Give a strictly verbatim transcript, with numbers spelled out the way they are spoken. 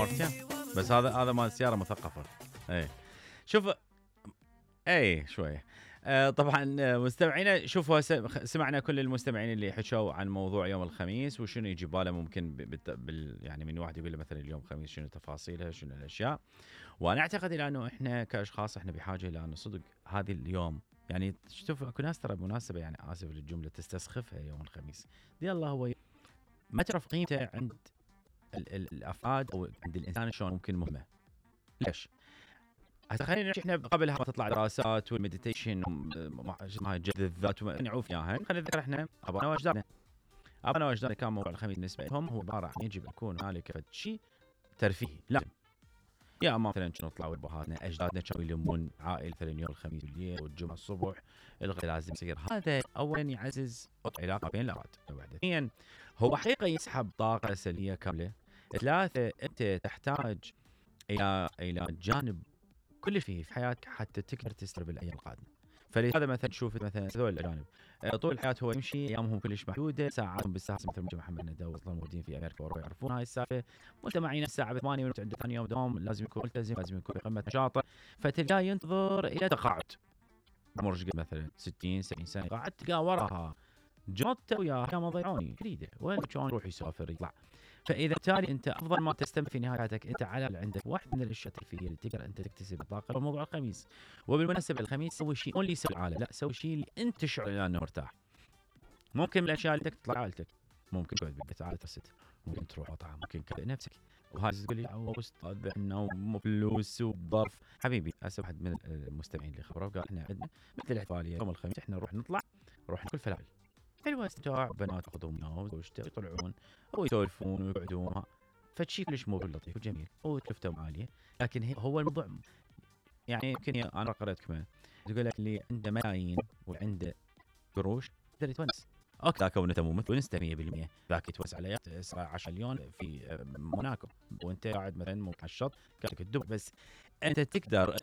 مرتين بس هذا هذا مال سياره مثقفه. اي شوف اي شويه. آه طبعا آه، مستمعينا شوفوا هسه خ- سمعنا كل المستمعين اللي حكوا عن موضوع يوم الخميس وشنو يجي باله ممكن ب- بالت- بال يعني من واحد يقول له مثلا اليوم الخميس شنو تفاصيلها شنو الاشياء. وانا اعتقد الى انه احنا كاشخاص احنا بحاجه الى انه صدق هذه اليوم يعني شوف اكو ناس ترى مناسبه يعني اسف للجمله تستسخفها يوم الخميس. دي الله هو ي- ما تعرف قيمته عند ال- ال- الافراد او عند الانسان شلون ممكن مهمه. ليش؟ هسه خلينا نحكي احنا قبلها ما تطلع دراسات والمديتيشن اسمها جذب الذات ونعوف اياها. خلينا نذكر احنا ابانا واجدادنا. ابانا واجدادنا كان موضوع الخميس بالنسبه لهم هو عباره عن يجب يكون هنالك شيء ترفيهي لازم. يا اما مثلا كانوا يطلعوا ابهاتنا اجدادنا كانوا يلمون عائله مثلا يوم الخميس بالليل والجمعه الصبح الغداء لازم يصير. هذا اولا يعزز العلاقه بين الافراد. ثانيا هو حقيقه يسحب طاقه سلبيه كامله. ثلاثه انت تحتاج الى الى جانب كلش فيه في حياتك حتى تقدر تستر بالايام القادمه. فلهذا مثلا تشوف مثلا هذول الاجانب آه، طول الحياه هو يمشي ايامهم كلش محدوده ساعاتهم بالساعه مثل ما محمد ندى اصلا موجودين في امريكا واوروبا يعرفون هاي السالفه. مجتمعين الساعه ثمانية ونص عنده ثاني يوم دوام لازم يكون ملتزم لازم يكون بقمه نشاطه. فتلقاه ينتظر الى تقاعد عمره قد مثلا ستين سبعين سنه قاعد تلقاه وراها جوته وياها يا ما ضيعوني يريده وين كان يروح يسافر يطلع. فاذا بالتالي انت افضل ما تستمتع في نهايه حياتك انت على الأقل عندك واحد من الاشياء الترفيهيه اللي تقدر انت تكتسب الطاقه وموضوع الخميس. وبالمناسبه الخميس سوي شيء مو اللي يسوي العالم لا سوي شيء اللي انت تشعر انه مرتاح. ممكن من الاشياء اللي تطلع عائلتك ممكن تقعد بالبيت عائله الست ممكن تروح مطعم ممكن كذا نفسك. وهاي تقول لي او استاذ عندنا فلوس وظرف حبيبي. هسه واحد من المستمعين اللي خبره قال احنا عندنا مثل الاحتفاليه يوم الخميس احنا نروح نطلع نروح ناكل فلافل حلوه استمتاع بنات ياخذهم وياه وزوجته يطلعون ويسولفون ويقعدون فشي كلش موضوع لطيف وجميل وتلفتهم عاليه. لكن هي- هو الموضوع يعني يمكن انا قرأت كمان تقول لك اللي عنده ملايين وعنده قروش يقدر يتونس. اوكي ذاك هو مو مثل ونسته مية بالمية ذاك يتونس على يخت عشرة مليون في موناكو وانت قاعد مثلا مو على الشط كانك تدب بس انت تقدر